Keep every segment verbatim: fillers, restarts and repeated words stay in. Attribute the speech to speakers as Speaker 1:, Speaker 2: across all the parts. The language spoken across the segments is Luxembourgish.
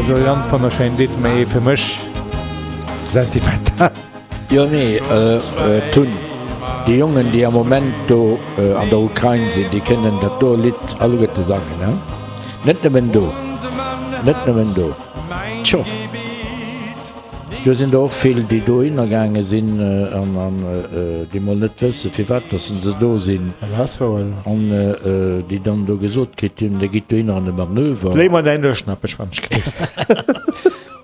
Speaker 1: Also ganz wonnerschéint Lidd, mee fir mech sentimental.
Speaker 2: Jo nee, et hunn déi Jongen déi am Moment do an der Ukrain sinn, déi kënnen dat do Lidd alleguerte sangen, he? Net nëmmen do, net nëmmen do. Tjo, do sinn der och vill, déi dohinner gaange sinn an an déi mol net wëssen, firwat dass se do sinn. An déi dann do gesot kritt hunn, Dir gitt dohinner an e Manöver.
Speaker 1: Léi mer däin Duerchschnappech, wann ech kritt.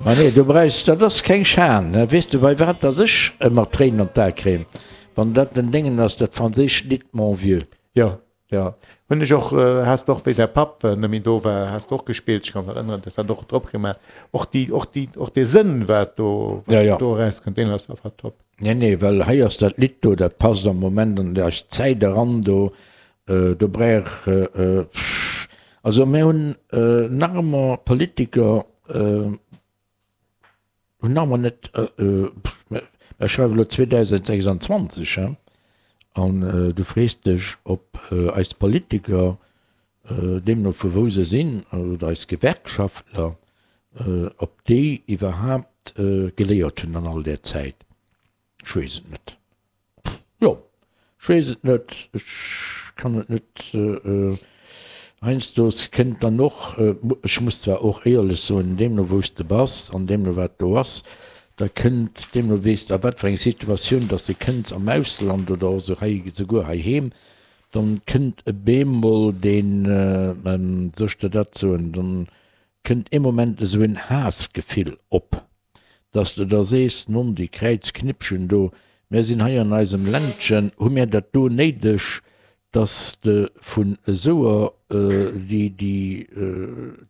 Speaker 2: Ma nee, do brauchs, dat ass keng Schan. Weess de, bei wat dass ech ëmmer Tréinen an d'Ae kréien? Wann dat den Déngen ass, dat franséischt Lidd Mon vieux.
Speaker 1: Jo, jo, hunn ech och. Has de och, wéi däi Papp net méi do war, has de och gespillt. Ech ka mech erënneren, du has dat och drop gemaach. Och déi, och déi, och dee Sënn, wat do, wat
Speaker 2: Ja, ja.
Speaker 1: do erauskënnt, deen ass einfach top.
Speaker 2: Nee, nee, well hei ass dat Lidd do, dat passt am Moment an eis Zäit eran do. Do brauch, also mir hunn nach ëmmer Politiker, hunn nach ëmmer net, mir schreiwen elo zweedausendsechsundzwanzeg, he, an du frees dech, ob eis Politiker, deemno vu wou se sinn, oder eis Gewerkschaftler, ob déi iwwerhaapt geléiert hunn an all där Zäit. Ech weess et net. Jo, ech weess et net, ech kann et net. Heiansdo kënnt dann och, ech muss zwar och éierlech soen, deemno wou s de bass an deemno wat do ass, da kënnt, deemno weess de a wat fir eng Situatioun dass de kënns am Ausland oder och esou hei, souguer heiheem, dann kënnt e beemol deen, soll ech der dat soen, dann kënnt ee Moment esou en Haassgefill op. Dass de da sees, non, déi Kräizknippchen do, mär sinn hei an eisem Ländchen, hu mär dat do néideg, dass de vun esouer, déi déi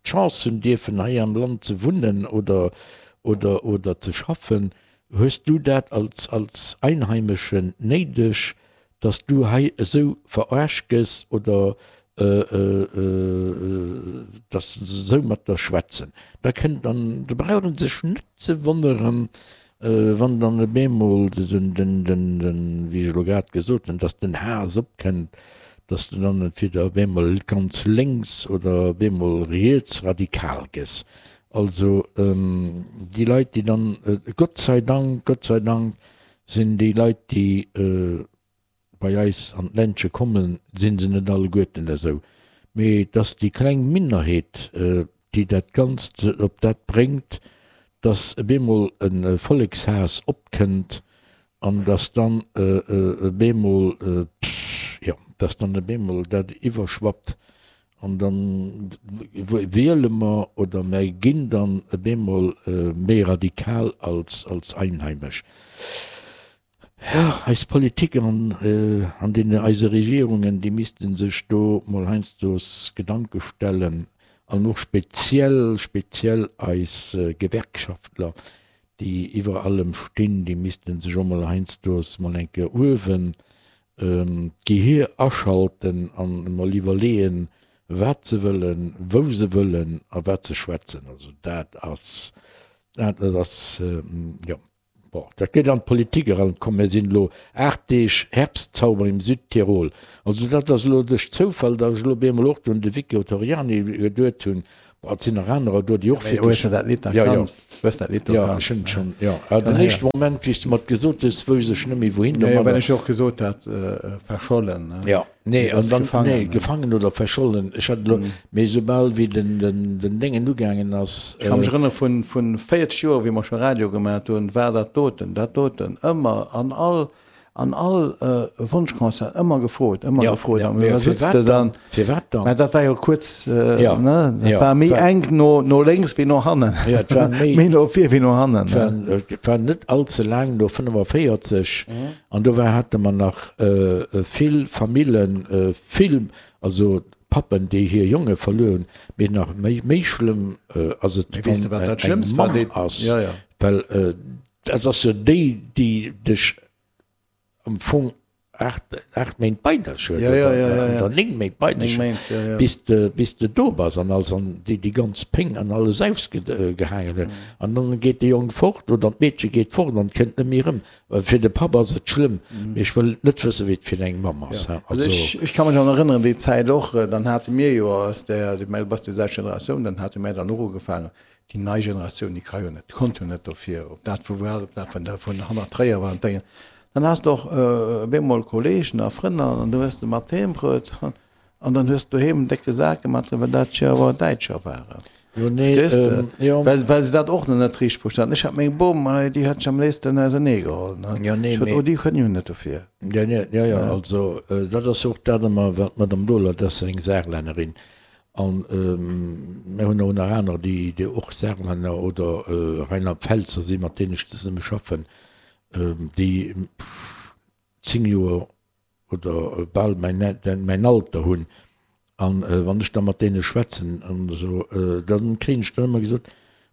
Speaker 2: d'Chance hunn dierfen hei am Land ze wunnen oder, oder, oder ze schaffen, hues du dat als, als Einheimeschen néideg, dass du hei esou verarscht gëss oder dass se esou mat der schwätzen, da kënnt dann, da brauch een sech net ze wonneren, wann dann op eemol den, den, den, den, wéi ech elo grad gesot hunn, dass den Haass opkënnt, dass de dann entweder op eemol ganz lénks oder op eemol riets radikal gëss. Also déi Leit, déi dann, Gott sei Dank, Gott sei Dank sinn déi Leit, déi bei eis an d'Ländche kommen, si se net alleguerten esou, mee et ass déi kleng Minderheet, déi dat Ganzt op dat bréngt, dass op eemol e Vollekshaass opkënnt an dass dann op eemol, jo, dass dann op eemol dat iwwerschwappt an da wiele mer oder mer ginn dann op eemol méi radikal als Einheimesch. Jo, eis Politiker an an deene eise Regierungen, déi misste sech do mol heiansdos Gedanke stellen an och speziell, speziell eis Gewerkschaftler, déi iwwer allem stinn, déi misste sech och mol heiansdos mol eng Kéier uewen d'Gehir aschalten an emol iwwerleeën, wat se wëllen, wou se wëllen a wat se schwätzen. Also dat ass, dat ass, jo. Bon, dat geet an d'Politik eran. Komm, mir sinn elo aacht Deeg Herbstzauber im Südtirol. Also dat ass elo duerch Zoufall, datt ech elo op eemol och do un de Vico Torriani geduet hunn. Bon, et sinn nach anerer do, déi och
Speaker 3: Mee hues de dat Lidd
Speaker 2: Ja, jo.
Speaker 3: erkannt? Hues dat Lidd
Speaker 2: Jo,
Speaker 3: erkannt?
Speaker 2: ech hunn et schonn, jo. Awer den éischte Moment, wéi s de mer et gesot hues, wousst ech net méi wouhin
Speaker 3: Jo, jo, well
Speaker 2: domadder.
Speaker 3: ech jo och gesot hat, verschollen, ne?
Speaker 2: Jo. Nee, an dann,
Speaker 3: gefangen,
Speaker 2: nee, gefangen oder verschollen, ech hat elo, mee soubal wéi den, den, den Déngen ugaangen ass.
Speaker 3: Ech ka mech erënnere vun, vun véierzeg Joer, wéi mer scho Radio gemat hunn, war dat doten, dat doten ëmmer an all, an all Wonschconcert ëmmer gefrot, ëmmer
Speaker 2: Ja,
Speaker 3: gefrot.
Speaker 2: ja,
Speaker 3: An
Speaker 2: mee
Speaker 3: da sutz
Speaker 2: firwat
Speaker 3: de
Speaker 2: dann?
Speaker 3: dann,
Speaker 2: Firwat dann?
Speaker 3: mä dat war jo kuerz,
Speaker 2: Ja,
Speaker 3: ne, dat
Speaker 2: ja,
Speaker 3: war méi
Speaker 2: war,
Speaker 3: enk no, no lénks wéi no hannen,
Speaker 2: ja, et war méi,
Speaker 3: méi no vir wéi no hannen,
Speaker 2: et war,
Speaker 3: ne.
Speaker 2: et war net allze laang no fënnefavéierzeg. An do war, hate mer nach vill Famillen, vill, also Pappen, déi hir Jonge verluer hunn. Mee nach méi, méi schlëmm ass et,
Speaker 3: Mee weess de,
Speaker 2: wann
Speaker 3: wat dat
Speaker 2: eng
Speaker 3: Schlëmmst war?
Speaker 2: Mamm
Speaker 3: Déi,
Speaker 2: ass,
Speaker 3: ja, ja.
Speaker 2: well dat ass jo déi, déi dech am Fong aacht, aacht Méint bei dech huet
Speaker 3: Ja, ja, ja, ja, ja.
Speaker 2: oder néng Méint bei
Speaker 3: Néng
Speaker 2: dech huet,
Speaker 3: Méint, ja, ja.
Speaker 2: bis de, bis de do bass an alles an déi, déi ganz Péng an alles ausgehaangen huet. An dann geet de Jong fort oder d'Meedche geet fort an kënnt net méi erëm. Well fir de Papp ass et schlëmm, mee ech wëll net wëssen, wéi et fir eng Mamm ass.
Speaker 3: Ja. Also ech, ech ka mech an erënneren, déi Zäit och, dann hate mir jo aus der, du bass déi selwecht Generatioun, dann hate mir dann och ugefaangen, déi nei Generatioun, déi ka jo net, konnt jo net dofir, ob dat vu Wal, ob dat vun der, vun hannert Tréier war an d'Déngen. Dann has de och op eemol Kolleegen a Frënn an du hues de mat heem bruet an dann hues de doheem en décke Sak gemat, well dat jo awer Däitscher waren.
Speaker 2: Jo, nee,
Speaker 3: Verstees de?
Speaker 2: jo.
Speaker 3: Well, well se dat och nach net richteg verstanen. Ech hat meng Bom, déi hat ech am léifsten ausernee geholl, ne?
Speaker 2: Jo, nee,
Speaker 3: Ech sot,
Speaker 2: mee.
Speaker 3: oh, déi kënnen jo net dofir.
Speaker 2: Jo, nee, jo, jo, also dat ass och dat ëmmer, wat d'Madame Dohler, dat ass eng Saarlännerin, an mir hunn och nach aner, déi, déi och Saarlänner oder Rheinland-Pfälzer sinn, mat deenen ech zesumme schaffen, déi zéng Joer oder bal mäin, mäin Alter hunn. An wann ech da mat deene schwätzen an esou, da kréien ech dann ëmmer gesot,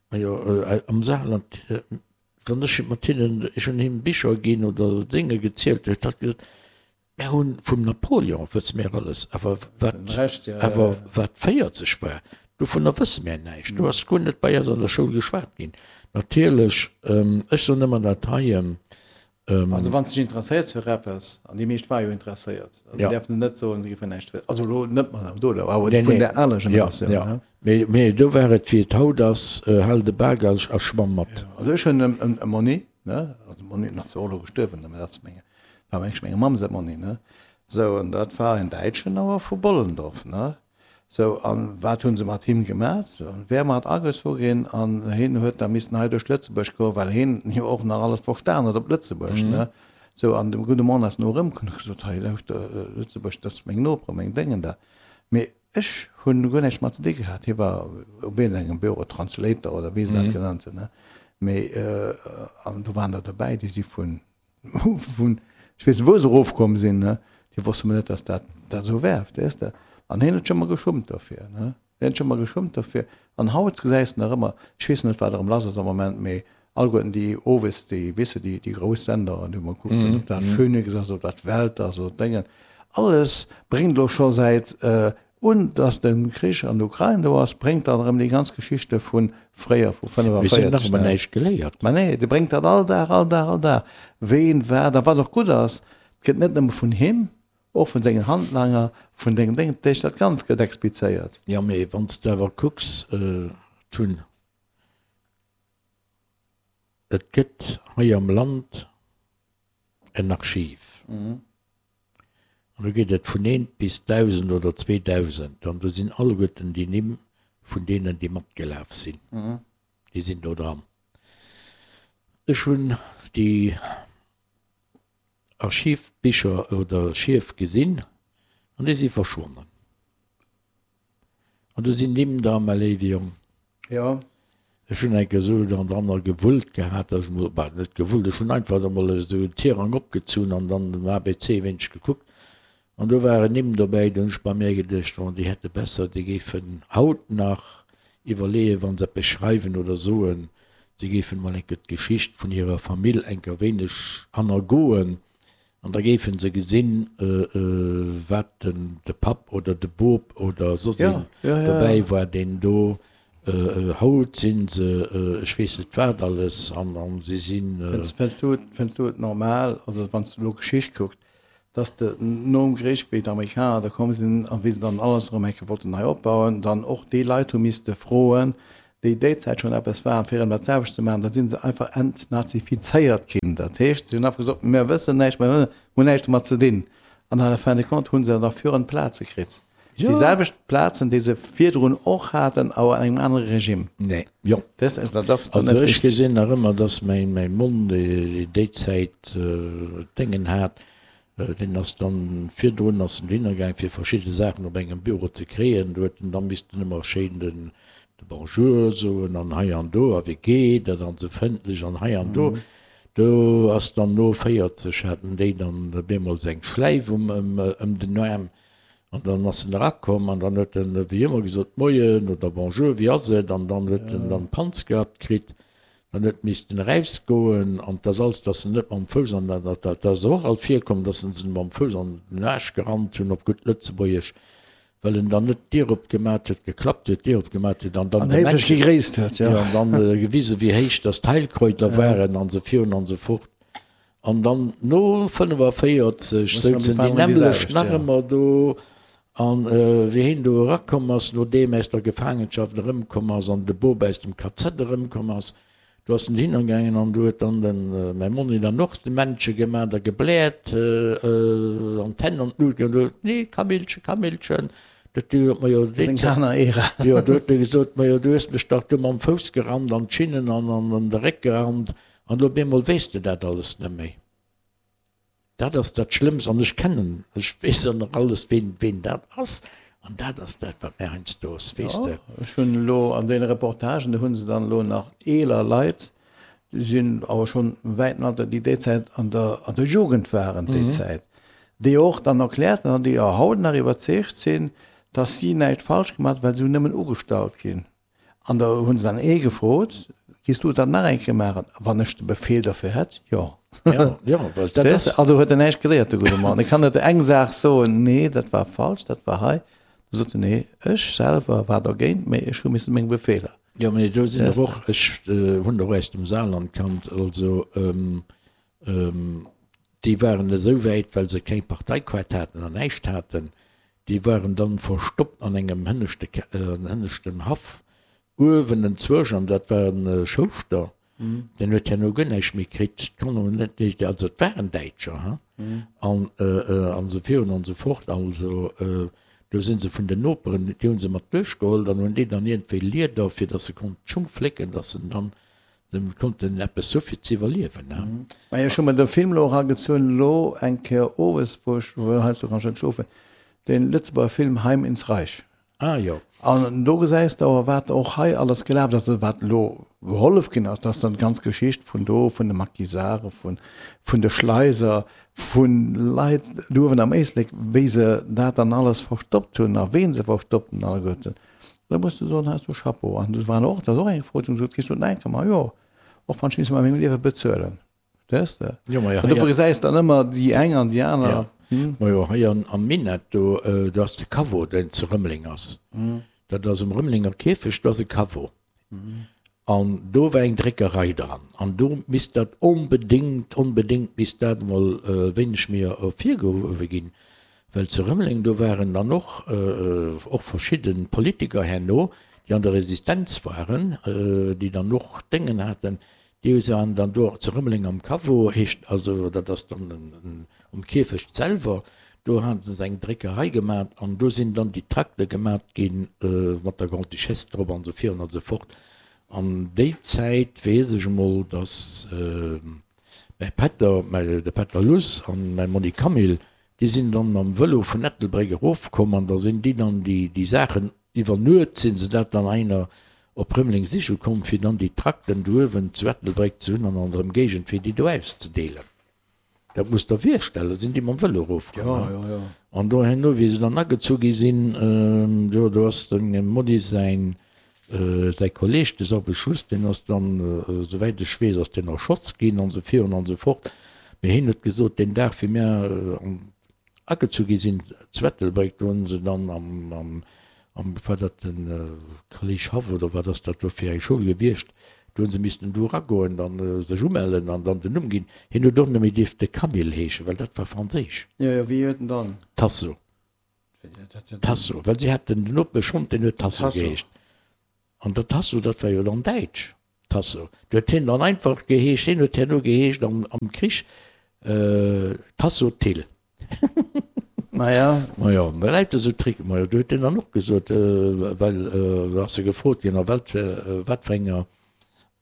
Speaker 2: Majo, am Saarland, wann ech mat hinnen, ech hunn hinnen Bicher ginn oder Dénge gezielt, huet hatt gesot, Mär hunn vum Napoleon wësse mär alles, awer wat, awer wat véierzeg war, dovunner wësse mär näischt. Do ass guer net bei eis an der Schoul geschwat ginn. Natierlech, ech soen ëmmer dat heien.
Speaker 4: Also wann s dech interesséiers fir eppes, an déi meescht ware jo interesséiert, also
Speaker 2: Ja.
Speaker 4: däerfe se net soen, se géifen näischt wëssen. Also elo net d'Madame Dohler, awer
Speaker 2: Nee,
Speaker 3: vun
Speaker 2: nee.
Speaker 3: der aler
Speaker 2: Ja,
Speaker 3: Generatioun.
Speaker 2: ja.
Speaker 3: Ne?
Speaker 2: Mee, mee do war et, wéi et haut ass, hal de Bak a a schwamm mat.
Speaker 3: Also ech hunn e, e Monni, ne, also Monni, den ass zwar och elo gestuerwen, mä dat ass meng, war meng, menge Mamm säi Monni, ne. Sou, an dat war en Däitschen, awer vu Bollendorf, ne. Sou, an wat hunn se mat him gemat? Sou, an wär mat agezu ginn an hien huet da missen hei duerch Lëtzebuerg goen, well hien jo och nach alles verstan huet op Lëtzebuerg, ne? Sou, an de gudde Mann ass no erëmkomm an huet gesot, Hei, lauschter, Lëtzebuerg, dat ass meng Noperen, meng Déngen da. Mee ech hunn guer näischt mat ze di gehat. Hie war op iergendengem Büro Translator oder wéi se dat genannt hunn, ne? Mee, an do waren der derbäi, déi si vun, vun, ech weess net, wou se erofkomm sinn, ne? Déi wosste mol net, dass dat dat esou wär, verstees de? An hien huet sech ëmmer geschummt dofir, ne? Hien huet sech ëmmer geschummt dofir. An haut gesäis de nach ëmmer, ech weess net, wat erëm lass ass am Moment, mee alleguerten déi owes, déi, weess de, déi, déi grouss Sender, an déi mer kucken, ob dat Phoenix ass, ob dat Welt ass oder Déngen, alles bréngt elo scho säit un dass de Krich an der Ukrain do ass, bréngt dann erëm déi ganz Geschichte vu fréier, vu
Speaker 2: Mee se hunn nach
Speaker 3: fënnefavierzeg,
Speaker 2: ëmmer
Speaker 3: ne?
Speaker 2: näischt geléiert.
Speaker 3: Mä nee, dee bréngt dat all Dag, all Dag, all Dag, ween wat a wat och gutt ass. Et gëtt net nëmme vun him, och vun sengen Handlanger, vun dengem Déngen, dat heescht, dat Ganzt gëtt explizéiert.
Speaker 2: Jo, mee wann s de awer kucks, Tun, et gëtt hei am Land en Archiv, an do geet et vun eent bis dausend oder zweedausend, an do sinn alleguerten déi Nimm vun deenen, déi matgelaf sinn, déi sinn do dran. Ech hunn déi Archivbicher oder Schief gesinn an déi si verschwonnen. An do sinn Nimm dra, mäi léiwe Jong.
Speaker 3: Jo.
Speaker 2: Ech hunn eng Kéier esou an dranner gewullt gehat, datt ech emol, bah, net gewullt, ech hunn einfach emol esou den Tirang opgezunn an dann den A B C e wéineg gekuckt. An do waren Nimm dobäi, do hunn ech bei mär geduecht, oh, déi hätte besser, déi géifen haut nach iwwerleeën, wa se eppes schreiwen oder soen, si géifen emol eng Kéier d'Geschicht vun hirer Famill eng Kéier wéineg hannergoen an da géife se gesinn, wat den de Papp oder de Bop oder soss een dobäi war, deen do, haut si se ech weess net wat alles an a si sinn.
Speaker 3: Fënns du et, fënns du et normal, also wann s du elo Geschicht kuckt, dass de nom Krich, wéi d'Amerikaner da komm sinn a wéi se dann alles erëm eng Kéier wollten nei opbauen, dann och déi Leit hu misste froen, déi déi Zäit schonn eppes waren, fir erëm dat selwecht ze maachen, da si se einfach entnazifizéiert ginn. Dat heescht, si hunn einfach gesot, Mir wëssen näischt, mir hunn näischt domat ze dinn. An à la fin de compte hu se derfir Plaze kritt. Déi selwecht Plazen, déi se virdrun och haten, awer an engem anere Regime.
Speaker 2: Nee, jo.
Speaker 3: Dat ass dat ass
Speaker 2: Also
Speaker 3: net
Speaker 2: ech
Speaker 3: richteg.
Speaker 2: gesinn nach ëmmer, dass mäin mäin Monn, dee déi Zäit Déngen hat, deen ass dann virdrun ass en dohinner gaang fir verschidde Saachen op engem Büro ze kréien. Do huet en dann missten ëmmer schéin den de Bonjour soen an hei an do a wéi geet et an esou fëndlech an hei an do. Do ass dann no véierzeg haten déi dann op eemol eng Schläif um ëm den Aarm an dann ass en erakomm an dann huet en wéi ëmmer gesot Moien oder Bonjour, wéi ass et? An dann huet en dann d'Panz gehabt kritt. Dann huet missten erausgoen an 't ass alles, dass se net mam Fouss an, dat, dat ass och alt virkomm, dass se se mam Fouss an den Aarsch gerannt hunn, op gutt Lëtzebuergesch, well en dann net d'Dier opgemat huet, geklappt huet, d'Dier opgemat huet an dann
Speaker 3: An
Speaker 2: de
Speaker 3: héiflech
Speaker 2: Männchen,
Speaker 3: gegréisst huet, jo.
Speaker 2: jo, an dann gewisen, wéi héich dass d'Heilkräuter waren an esou virun an esou fort. An dann no fënnefaféierzeg souzen déi nämmlecht nach ëmmer do. An wéi heen do erakomm ass, nodeem aus der Gefaangenschaft erëmkomm ass an de Bop aus dem K Z erëmkomm ass, do ass en dohinner gaangen an do huet dann de mäi Monni dann och de Männche gemaat a gebläert an d'Hänn an d'Lut geholl huet, Nee, Camillchen, Camillchen, dat du huet mer jo déi
Speaker 3: Seng
Speaker 2: Zäit,
Speaker 3: aner Ära.
Speaker 2: jo, do huet e gesot, Majo, du hues mech dach do mam Fouss gerannt an d'Schinnen an an de Réck gerannt an elo op eemol weess de dat alles net méi. Dat ass dat Schlëmmst an ech kennen, ech weess och nach alles, ween, ween dat ass an dat ass dat, wat mär heiansdo ass, weess
Speaker 3: Jo,
Speaker 2: de.
Speaker 3: ech hunn elo an deene Reportagen, do hu se dann elo nach eeler Leit, déi sinn awer schonn wäiten Alter, déi déi Zäit an der, an der Jugend waren déi Zäit, déi och dann erkläert hunn an déi och haut nach iwwerzeegt sinn, dass si näischt falsch gemaach hunn, well se hunn nëmmen ugestallt ginn. An da hu se dann ee gefrot, Giss du dat nach eng Kéier maachen? Wann ech de Befehl derfir hätt, jo.
Speaker 2: Ja, ja, well dat ass.
Speaker 3: Also huet en näischt geléiert, de gudde Mann. E kann net eng Saach soen, nee, dat war falsch, dat war hei. Da sot en, nee, ech selwer war dergéint, mee ech hu missen meng Befehler.
Speaker 2: Jo, mee do sinn der och, ech hunn der och aus dem Saarland kannt, also déi waren esou wäit, well se keng Parteikaart haten an näischt haten, déi waren dann verstoppt an engem hënneschte, hënneschten Haff uewen enzwousch, an dat war e Schouschter, deen huet herno guer näischt méi kritt, d'Kanner hunn net méi, also et waren Däitscher, hein, an an esou virun an esou fort. Also do si se vun den Noperen, déi hu se mat duerchgeholl, dann hunn déi dann iergendwéi Lieder, fir datt se konnten d'Schung flécken, datt se dann konnten eppes hu fir ze iwwerliewen, hein.
Speaker 3: Majo, ech hu mer de Film elo eragezunn, elo eng Kéier owes, wou ech, well heiansdo kann ech net schlofen, dee Lëtzebuerger Film Heim ins Reich.
Speaker 2: Ah jo.
Speaker 3: An do gesäis de awer, wat och hei alles gelaf ass, also wat elo gehollef ginn ass, dass dann d'ganz Geschicht vun do, vun de Maquisarde, vun, vun de Schleiser, vu Leit do uewen am Éislek, wéi se dat dann alles verstoppt hunn a ween se verstoppt hunn alleguerten. Da muss de soen, heiansdo Chapeau. An do waren och, dat ass och eng Fro, déi gesot, Kriss du dat enke? Ma jo, och wann ech misst mer mengem Liewe bezuelen. Verstees de?
Speaker 2: Jo, ma jo,
Speaker 3: An
Speaker 2: hei
Speaker 3: dofir gesäis de dann ëmmer déi eng an déi aner.
Speaker 2: Ja. Ma jo, hei an, am Minett do, do ass de Caveau, deen zu Rëmeleng ass. Dat ass um Rëmelenger Kierfecht, do ass e Caveau. An do war eng Dréckerei dran. An do misst dat onbedéngt, onbedéngt misst dat emol e wéineg méi ervirgehuewe ginn, well zu Rëmeleng, do waren dann och, och verschidde Politiker herno, déi an der Resistenz waren, déi dann och Déngen haten, Déi waren dann do zu Rëmeleng am Caveau, heescht also, dat ass dann um Kierfecht selwer, do hate se eng Dréckerei gemat an do sinn dann déi Trakte gemat gi mat der Grande-Duchesse drop an esou virun an esou fort. An déi Zäit weess ech emol, datt mäi Pätter, de Pätter Luss an mäi Monni Camille, déi sinn dann mam Vëlo vun Ettelbréck erofkomm an da sinn déi dann déi Saachen, iwwer Nuet sinn se dat dann einer op Rëmeleng siche komm, fir dann déi Trakten do uewen zu Ettelbréck ze hunn an an der Ëmgéigend, fir déi do auszedeelen. Dat musst Der virstellen, da sinn déi mam Vëlo erofkomm, he. An do herno, wéi se dann agezu gi sinn, jo, do ass dem Monni säin, säi Kolleg, de Sorbe Schuss, deen ass dann, esouwäit ech weess, ass deen erschoss ginn an esou virun an esou fort. Mee hien huet gesot, deen Dag, wéi mär an Agezu gi sinn zu Ettelbréck, do hunn se dann am, am, am, war dat de Kolleg Haff oder wat ass dat do fir eng Schoul gewiescht, do hunn se missten do eragoen, dann sech umellen an dann den Numm ginn. Hien huet och net méi dierfte Camille heeschen, well dat war franséisch.
Speaker 4: Jo, jo, wéi huet en dann?
Speaker 2: Tasso. Tasso, well si haten den Nopeschhond, deen huet Tasso geheescht. An der Tasso, dat war jo dann däitsch, Tasso. Do huet hien dann einfach geheescht, hien huet herno geheescht am, am Krich, Tasso Thill.
Speaker 3: Maja.
Speaker 2: Majo, da läit esou Trick. Majo, do huet deen dann och gesot, well do ass e gefrot ginn, a wat fir, wat fir enger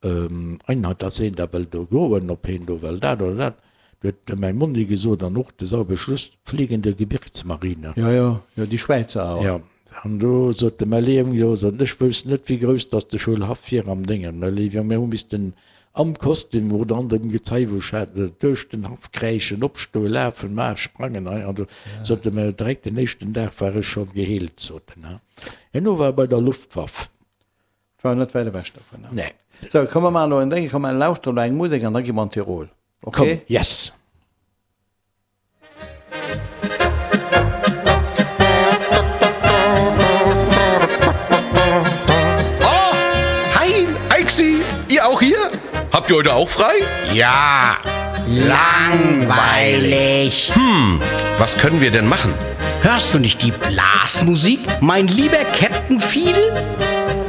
Speaker 2: Einheit dass heen da wëll do goen, ob heen do wëll dat oder dat. Do huet de mäi Monni gesot, an och de Sauer Beschluss, Fliegende Gebirgsmarine.
Speaker 3: Jo, jo, jo, déi Schwäizer awer.
Speaker 2: Jo, an do sot de mäi Léiw, jo, sot en, ech wousst net, wéi grouss dass de Schoulhaff wier am Déngen, mäi Léiw, jo, mir hu missten Am Kostüm oder an dem Gezei wou ech hat, duerch den Haff kräischen, opstoen, lafen, maachen, sprangen, hei an do, sot e mer direkt den éischten Dag war ech scho geheelt, sot en. Herno war e bei der Luftwaff.
Speaker 3: War net wäit ewech dovunner.
Speaker 2: Nee.
Speaker 3: Sou, komm mer maachen elo en Dénge, komm mer lauschteren elo eng Musek an da gi mer an Tirol.
Speaker 2: Komm,
Speaker 3: Okay?
Speaker 2: yes.
Speaker 5: Oh, Hein, Aixi, ihr auch hier? Habt ihr heute auch frei?
Speaker 6: Ja, langweilig.
Speaker 5: Hm, was können wir denn machen?
Speaker 6: Hörst du nicht die Blasmusik, mein lieber Captain Fiedel?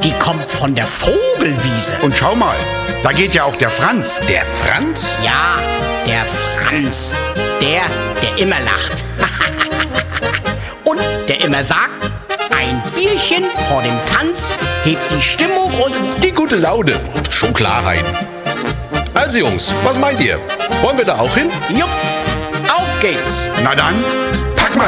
Speaker 6: Die kommt von der Vogelwiese.
Speaker 7: Und schau mal, da geht ja auch der Franz.
Speaker 5: Der Franz?
Speaker 6: Ja, der Franz. Der, der immer lacht. Und der immer sagt, ein Bierchen vor dem Tanz hebt die Stimmung und...
Speaker 5: Die gute Laune. Schon klar, Hein. Also Jungs, was meint ihr? Wollen wir da auch hin?
Speaker 6: Jupp, auf geht's.
Speaker 7: Na dann,